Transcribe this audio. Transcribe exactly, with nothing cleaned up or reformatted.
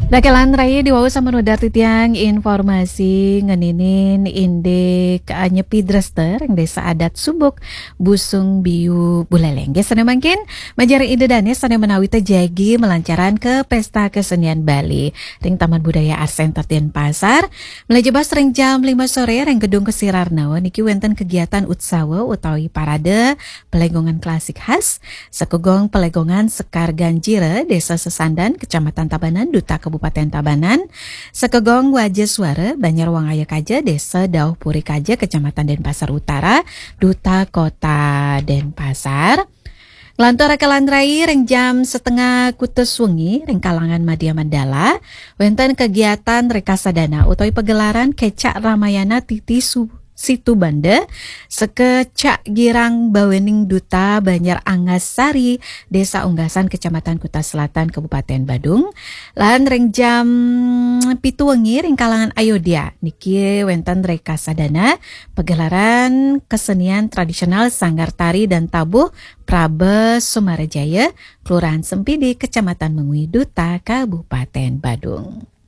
Rakelan rai, diwau sampun wedar titiang informasi ngeninin indik, eh, Nyepi Drester ring Desa Adat Subuk, Busung Biu, Buleleng. Nggih, sane mangkin, majeng ring Ida Dane sane menawi ta jagi malancaran ke Pesta Kesenian Bali ring Taman Budaya Art Center Denpasar. Malih jebos ring jam lima sore ring Gedung Kesirarnawa niki wenten kegiatan utsawa utawi parade Pelegongan Klasik Khas, Sekegong Pelegongan Sekar Ganjira, Desa Sesandan, Kecamatan Tabanan, Duta Kabupaten Tabanan, Sekegong Waja Suara, Banjar Wangaya Kaja, Desa Dauh Puri Kaja, Kecamatan Denpasar Utara, Duta Kota Denpasar. Nglantur rakelan rai ring jam setengah kutus wengi ring kalangan Madya Mandala, wenten kegiatan Rekasadana utawi pagelaran Kecak Ramayana Titi Su- Situ Banda, sekecak girang bawening Duta Banjar Anggasari, Desa Unggasan, Kecamatan Kuta Selatan, Kabupaten Badung. Lan ring jam pitu wengi ring kalangan Ayodya niki wenten Rekasadana, pagelaran kesenian tradisional Sanggar Tari dan Tabuh Praba Sumarajaya, Kelurahan Sempidi, Kecamatan Mengwi, Duta Kabupaten Badung.